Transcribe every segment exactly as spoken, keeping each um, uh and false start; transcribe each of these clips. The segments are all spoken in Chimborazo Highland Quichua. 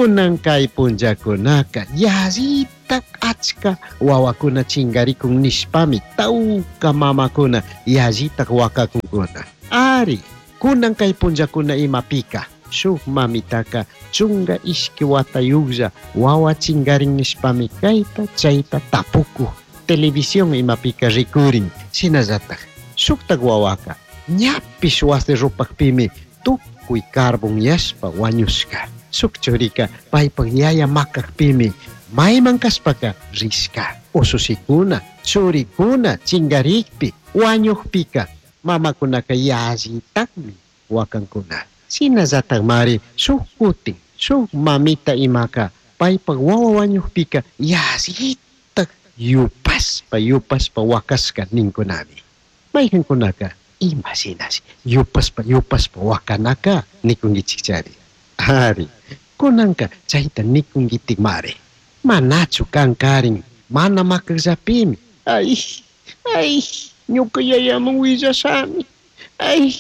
Kunan kay punllakunaka yallita achka wawakuna chingarikun nishpami tawka mamakuna yallita wakakunkuna. Ari, kunan kay punllakuna imapika shuk mamitaka chunga ishki watayuqlla wawa chingarin nishpami kayta chayta tapukuq televisión imapika rikurin. Shinallatak shuktak wawaka ñapish wasi rupakpimi tukuy carbonyashpa wañushka. Shuk churika paypak yaya makakpimi mayman kashpaka rishka. Usushikuna churikuna chingarikpi wañukpika mamakunaka yallitakmi wakankuna. Shinallatakmari shuk kutin shuk mamita imaka paypak wawa wañukpika yallitak yupashpa yupashpa wakashka ninkunami. Mayqinkunaka ima shinashi yupashpa yupashpa wakanaka nikunkichikchari. Ari, kunanka chayta nikunkitikmari. Manachu kankarin mana makakllapimi. Ay, ay, ñuka yayaman willashami. Ay,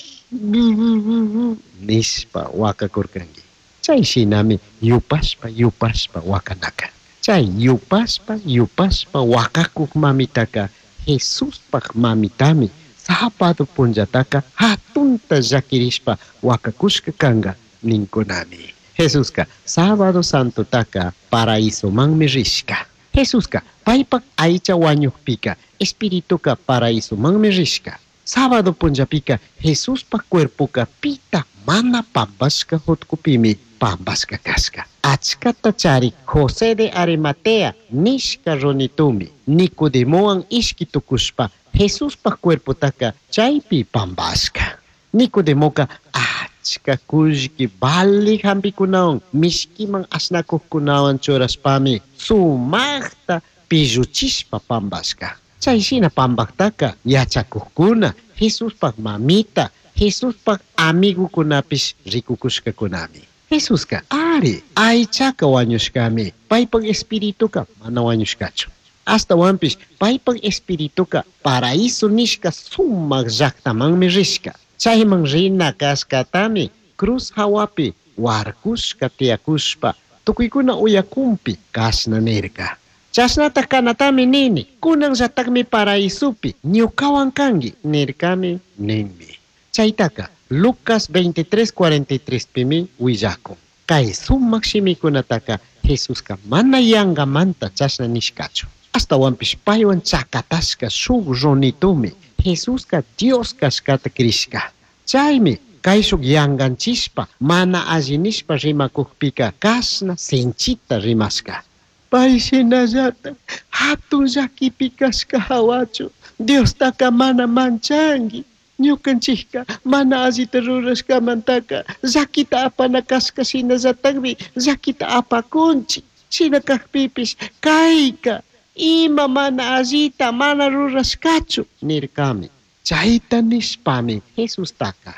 nishpa wakakurkanki. Chay shinami yupashpa yupashpa wakanaka. Chay yupashpa yupashpa wakakuk mamitaka Jesuspaj mamitami sábado punllataka hatunta llakirishpa wakakushka kanka ninkunami. Jesuska sábado santotaka paraísomanmi rishka. Jesuska paypak aycha wañukpika espirituka paraísomanmi rishka. Sábado punllapika Jesuspaj cuerpoka pita mana pampashka hutkupimi pampashka kashka. Achkata charik José de Arimatea nishka runitumi Nicodemowan ishki tukushpa Jesuspaj cuerpotaka chaypi pampashka. Nicodemoka achka kullki vali hampikunawan mishkiman ashnakuqkunawan churashpami sumaqta pilluchishpa pampashka. Chay shina pampaktaka yachakuqkuna Jesuspaj mamita Jesuspaj amigukunapish rikukushkakunami. Jesuska ari aychaka wañushkami paypak espirituka mana wañushkachu. Ashtawanpish paypak espirituka paraíso nishka sumaq llaqtamanmi rishka. Chayman rina kashkatami cruz hawapi warkushka tiyakushpa tukuykuna uyakunpi kashna nirka. Chashnata kanatami nini, kunanllatakmi paraísopi ñukawan kanki nirkami ninmi. Chaytaka Lucas veintitrés cuarenta y tres pimi willakun. Kay sumaq shimikunataka Jesuska mana yankamanta chashna nishkachu. Ashtawanpish paywan chakatashka shuk runitumi Jesuska Dios kashkata krishka. Chaymi kayshuk yankanchishpa mana alli nishpa rimakukpika kashna sinchita rimashka. Pay shinallata hatun llakipi kashka hawachu Diostaka mana manchanki. Ñukanchikka mana allita rurashkamantaka llakita apana kashka shinallatakmi llakita apakunchik. Shina kakpipish kayka ima mana allita mana rurashkachu nirkami. Chayta nishpami Jesustaka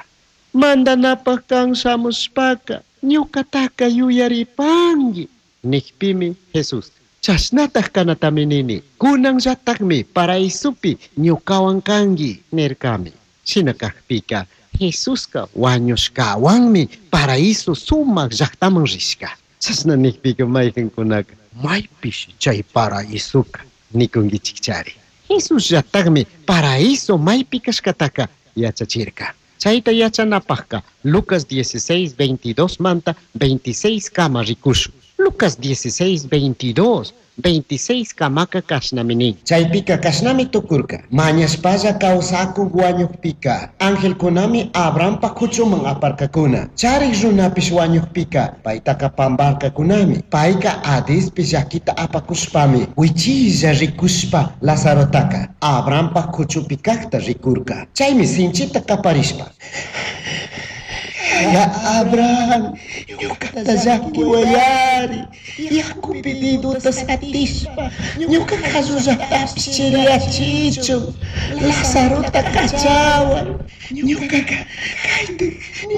mandanapaj kan shamushpaka ñukataka yuyaripanki nikpimi Jesús chashnataj kanatami nini kunanllatakmi paraísopi ñukawan kanki nirkami. Shina kakpika Jesuska wañushkawanmi paraíso sumaq llaqtaman rishka. Chashna nikpika mayqinkunaka maypish chay paraísoka nikunkichikchari. Jesusllatakmi paraíso maypi kashkataka yachachirka. Chayta yachanapajka Lucas dieciséis veintidós manta veintiséis kama rikushun. Lucas dieciséis veintidós veintiséis kamaka kashnami nin. Chaypika kashnami tukurka. Mañashpalla kawsakuk wañukpika angelkunami Abrahampa kuchuman aparkakuna. Charik runapish wañukpika paytaka pamparkakunami. Payka Hadespi llakita apakushpami wichilla rikushpa Lazarotaka Abrahampa kuchupi kakta rikurka. Chaymi sinchita kaparishpa Ya Abraham, ñukata llakiwayari, yakupi deduta satishpa, ñuka qallullatapish chiriyachichun, Lazarota kachawan, ñukaka kayta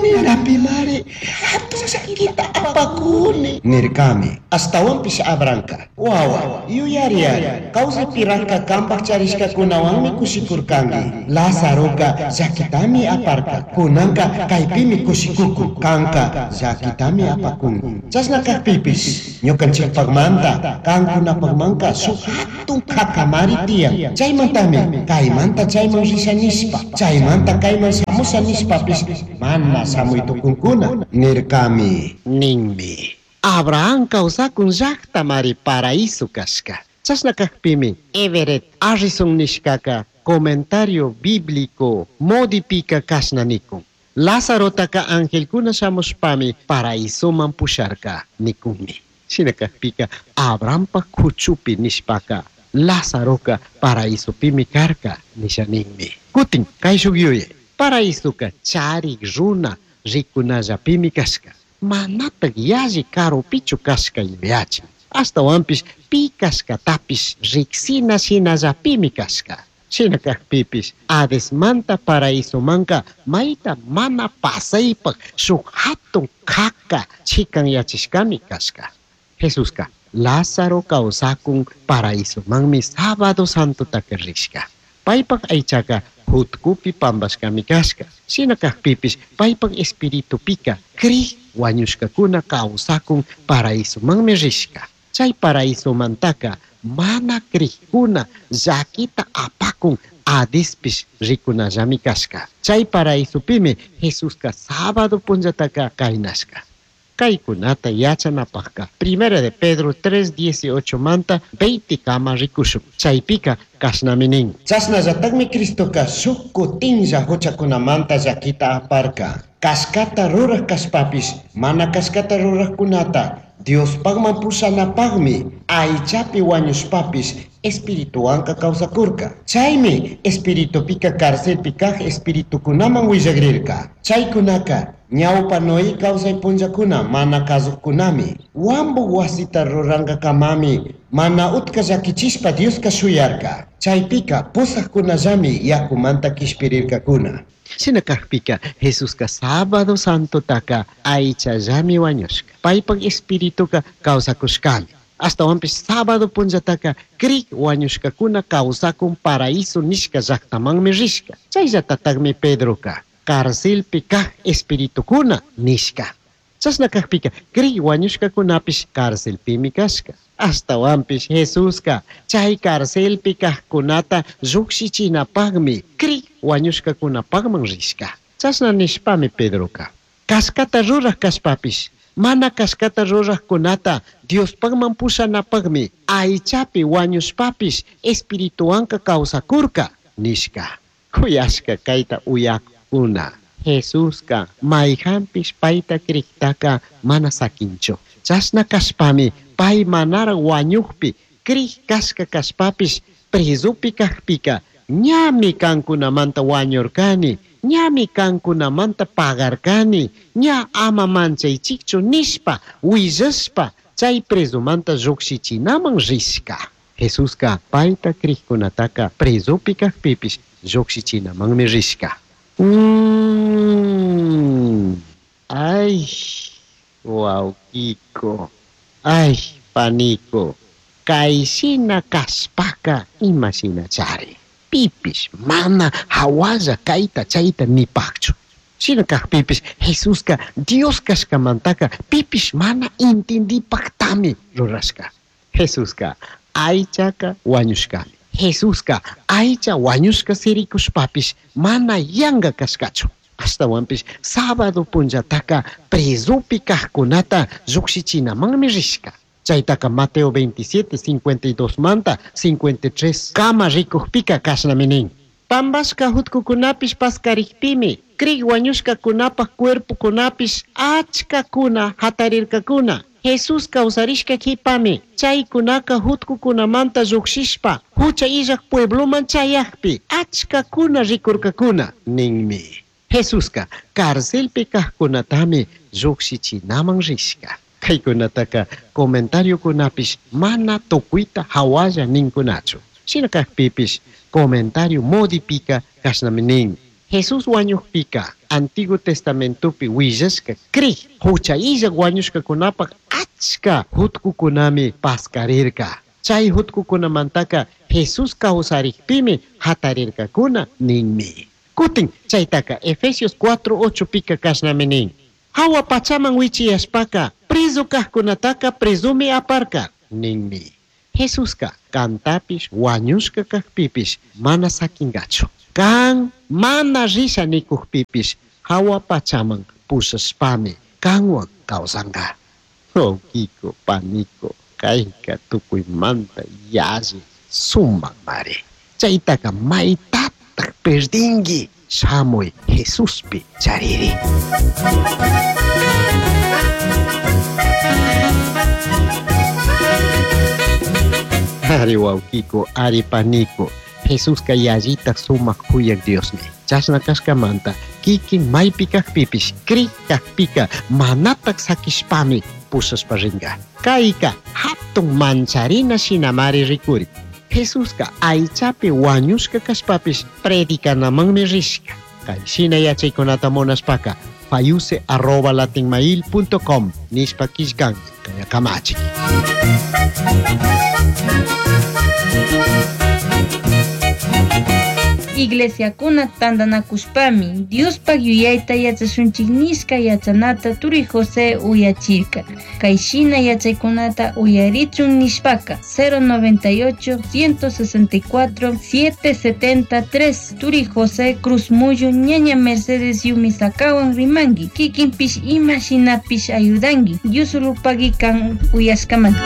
ninapimari hatun llakita apakuni. Nirkami, ashtawanpish Abrahamka, wawa, yuyariyari, kawsaypiraqka kanpaj charishkakunawanmi kushikurkanki, Lazaroka llakitami aparka, kunanka kaypimi kushikun. Cushicucun, kanka llakitami apakun. Chashna kajpipish ñukanchikpakmanta kankunapakmanka shuk hatun kakamari tiyan. Chaymantami kaymanta chayman risha nishpa, chaymanta kayman shamusha nishpapish mana shamuy tukunkuna nirkami. Ninmi. Abraham kawsakun llaktamari paraíso kashka. Chashna kajpimi Everett Harrison nishkaka comentario bíblico modipika kashna nikun. Lázarotaka angelkuna shamushpami paraísoman pusharka nikunmi. Shina kajpika Abrahampa kuchupi nishpaka Lázaroka paraísopimi karka nisha ninmi. Kutin kayshuk yuyay paraísoka charik runa rikunallapimi kashka. Manatak yalli karupichu kashka yuyachin. Ashtawanpish pi kashkatapish riksina shinallapimi kashka. Shina kajpipish Hadesmanta paraísomanka mayta mana pasaypak shuk hatun kaka chikanyachishkami kashka. Jesuska Lázaro kawsakun paraísomanmi sábado santotaka rishka. Paypak aychaka jutkupi pampashkami kashka. Shina kajpipish paypak espiritupika krij wañushkakuna kawsakun paraísomanmi rishka. Chay paraísomantaka mana krijkuna llakita apakun Hadespish rikunallami kashka. Chay paraísopimi Jesuska sábado punllataka kaynashka. Kaykunata yachanapajka Primera de Pedro tres dieciocho manta veinte kama rikushun. Chaypika kashnami nin. Chashnallatakmi Cristoka shuk kutinlla huchakunamanta llakita aparka. Kashkata ruraj kashpapish mana kashkata rurajkunata Diospakman pushanapakmi aychapi wañushpapish espirituwanka kawsakurka. Chaymi espiritupika carcelpi kaj espiritukunaman willakrirka. Chaykunaka ñawpa Noé kawsay punllakuna mana kasuqkunami. Wambu wasita rurankakamami mana utka llakichishpa Dioska shuyarka. Chaypika pusaqkunallami yakumanta kishpirirkakuna. Shina kajpika Jesuska sábado santotaka aychallami wañushka. Paypak espirituka kawsakushkami. Ashtawanpish sábado punllataka krik wañushkakuna kawsakun paraíso nishka llaktamanmi rishka. Chayllatatakmi Pedroka carcelpi kaj espiritukuna nishka. Chashna kajpika krik wañushkakunapish carcelpimi kashka. Ashtawanpish Jesuska chay carcelpi kajkunata lluqshichinapakmi krik wañushkakunapakman rishka. Chashna nishpami Pedroka kashkata ruraj kashpapish mana kashkata rurajkunata Diospakman pushanapakmi aychapi wañushpapish espirituwanka kawsakurka nishka. Kuyashka kayta uyakuna. Jesuska mayhanpish payta kriktaka mana sakinchu. Chashna kashpami pay manara wañukpi krij kashka kashpapish presopi kajpika ñami kankunamanta wañurkani, ñami kankunamanta pagarkani, ña ama manchaychikchu nishpa willashpa chay presomanta lluqshichinaman rishka. Jesuska payta krijkunataka presopi kajpipish lluqshichinamanmi rishka. Mm. Ay, wawkiko, ay, paniko, kayshina kashpaka imashina chari. Pipish mana hawalla kayta chayta nipakchu. Shina kajpipish Jesuska Dios kashkamantaka pipish mana intindipaktami rurashka. Jesuska aychaka wañushkami. Jesuska aycha wañushka sirikushpapish mana yanka kashkachu. Ashtawanpish sábado punllataka presopi kajkunata lluqshichinamanmi rishka. Chaytaka Mateo veintisiete, cincuenta y dos manta cincuenta y tres kama rikujpika kashnami nin. Pambashka jutkukunapish paskarikpimi krik wañushkakunapaj cuerpokunapish achkakuna hatarirkakuna. Jesús kawsarishka qhipami chaykunaka jutkukunamanta lluqshishpa hucha illaj puebloman chayajpi achkakuna rikurkakuna ninmi. Jesuska carcelpi kajkunatami lluqshichinaman rishka. Kaykunataka comentariokunapish mana tukuyta hawalla ninkunachu. Shina kajpipish comentario modipika kashnami nin. Jesús wañuqpika Antiguo Testamentopi willashka krij hucha illaj wañushkakunapaj achka jutkukunami paskarirka. Chay jutkukunamantaka Jesús kawsarikpimi hatarirkakuna ninmi. Kutin chaytaka Efesios cuatro ocho pika kashnami nin. Hawa pachaman wichiyashpaka prezu kajkunataka prezumi aparka ninmi. Jesuska kantapish wañushka kajpipish mana sakingachu. Kan mana risha nikujpipish hawa pachaman pushashpami kanwan kawsanka. Wawkiko, paniko, kayka tukuymanta yalli sumakmari. Chaytaka maytataq perdinki shamuy Jesuspi chariri. Ari wawkiko, ari paniko, Jesuska yallitak sumak kuyak Diosmi. Chashna kashkamanta kikin maypi kajpipish kri kajpika manatak sakishpami pushashpa rinka. Kayka hatun mancharina shinamari rikuri. Jesuska aychapi wañushka kashpapish predicanamanmi rishka. Kay shina yachaykunata munashpaka fayuse arroba latinmail punto com nishpa killkanki kaya kamachik. Iglesiakuna tantanakushpami Diospaj yuyayta yachashunchik nishka yachanata turi José uyachirka. Kay shina yachaykunata uyarichun nishpaka cero noventa y ocho, ciento sesenta y cuatro, siete setenta tres turi José Cruz Muyo ñaña Mercedes Yumisakawan rimanki kikinpish ima shinapish ayudanki Diosulupagi kan uyashkamanta.